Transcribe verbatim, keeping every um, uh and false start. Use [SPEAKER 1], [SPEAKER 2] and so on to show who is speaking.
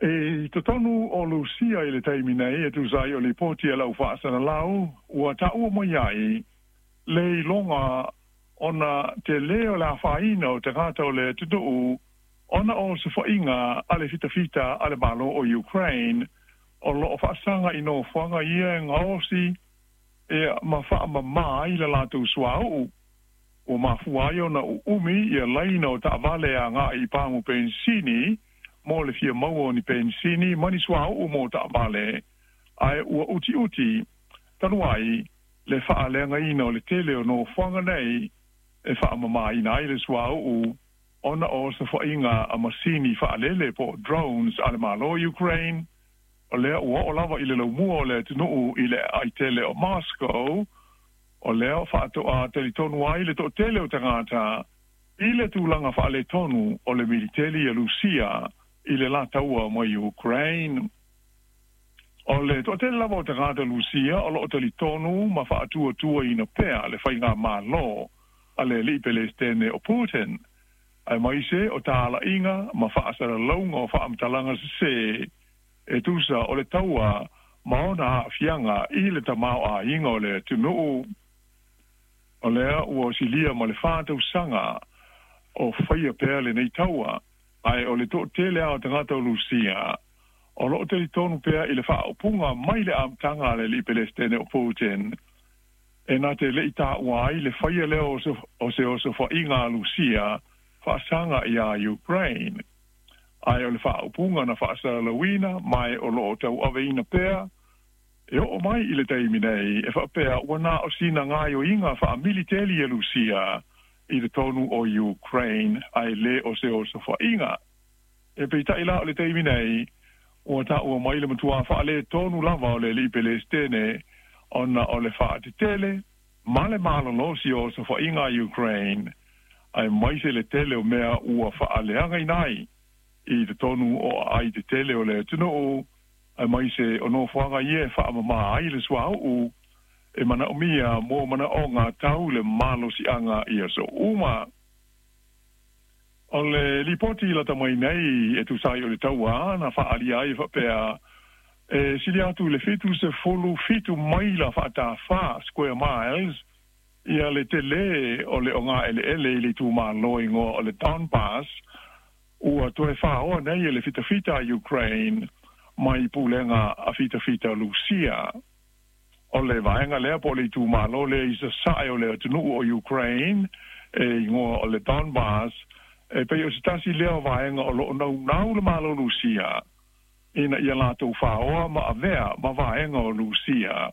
[SPEAKER 1] E i totonu o Lusia i le taimi nei e tusa ai o lipoti a le au faasalalau ua taua mai ai le iloga ona telē o le afaina o tagata o le atunuu ona o osofaiga a le fitafita a le Malo o Ukraine o loo faasaga i nofoaga ia e gaosi e ma faamamā ai le latou suauu ua mafua ai ona uumi ia laina o taavale agai i pamu penisini mo le fia maua o ni penisini ma ni suauu mo taavale ae ua utiuti talu ai le faaleagaina o le tele o nofoaga nei e faamamāina ai le suauu ona o osofaiga a masini faalele po drones a le Malo Ukraine o lea ua oo lava i le laumua o le atunuu i le aai tele o Moscow o lea faatoa talitonu ai le toatele o tagata i le tulaga faaletonu o le militeli a Lusia i le la taua mai Ukraine. O le toatele lava o tagata Lusia o loo talitonu ma faatuatuaina pea le faigamalo a le alii Pelestene o Putin aemaise o talaiga ma faasalalauga o faamatalaga sesē e tusa o le taua ma ona aafiaga i le tamaoaiga o le atunuu. O lea ua silia ma le fa tausaga o faia pea lenei taua ae o le toatele a o tagata o Lusia o loo talitonu pea i le faaupuga mai le amataga a le alii Pelestene o Putin e na te le'i taua ai le faia lea o se osofaiga a Lusia faasaga iā Ukraine ae o le faaupuga na faasalalauina ma e o loo tauaveina pea e oo mai i le taimi nei e faapea ua na o sina gaoioiga faamiliteli e Lusia i totonu o Ukraine ae lē o se osofaiga. E peitai la o le taimi nei ua taua mai le matuā faaletonu lava o le alii Pelestene ona o le faatetele ma le malolosi o osofaiga a Ukraine aemaise le tele o mea ua faaleagaina ai i totonu o aai tetele o le atunuu aemaise o nofoaga ia e faamamā ai le suauu e manaomia mo manaoga tau le malosiaga i aso uma. O le lipoti lata mai nei e tusa ai o le taua na faaalia ai faapea e sili atu le fitu sefulu fitu maila faatafā, square miles, ia le telē o le ogaeleele i le itumalo igoa o le Donbass ua toe faoa nei e le fitafita a Ukraine mai pulega a fitafita Lusia. O le vaega lea po o le itumalo lea i sasae o le atunuu o Ukraine e igoa o le Donbass e pei o se tasi lea o vaega o loo naunau le Malo Lusia ina ia latou faoa ma avea ma vaega o Lusia.